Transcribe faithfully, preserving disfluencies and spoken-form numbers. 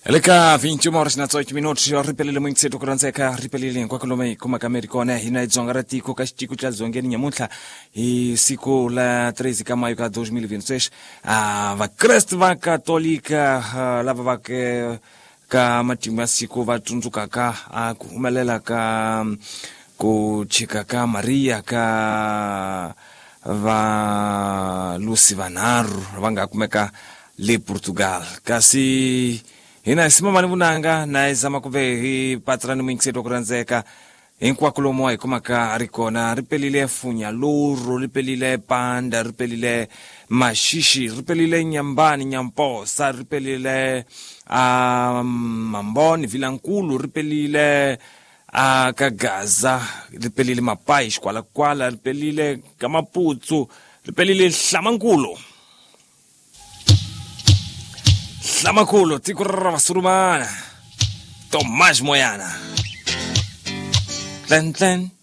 Le ka vinte e uma horas na dezoito minutos, ripelile muyingiseti ku rhandzeka, ripelile hinkwako lomu hi kumaka mi ri kona. Hina hi dzonga ra tiko ka xitiko xa dzongeni nyamuntlha hi siku la treze ka maio ka dois mil e vinte e seis. Ah, vakreste va katolika ah, lava va ke ka matimu ya siku va tsundzukaka ah, ku humelela ka ku chika ka Maria ka valusi vanharhu va nga kumeka le Portugal. Kasi hina hi simamani vunanga na hi zama kumbe hi patsirani muyingiseti wa ku rhandzeka hinkwako lomu hi kumaka a ri kona. Ri pelile Funyaluru, ri pelile Panda, ri pelile Maxixi, ri pelile Nyambani Nyamposa, ri pelile uh, Mamboni Vilankulu, ri pelile uh, ka Gaza, ri pelile Mapai Xikwalakwala, ri pelile ka Maputsu, ri pelile Hlamankulu. Hlamankulu tiko ra Vasurumana, Tomás Moyana. Tlen tlen.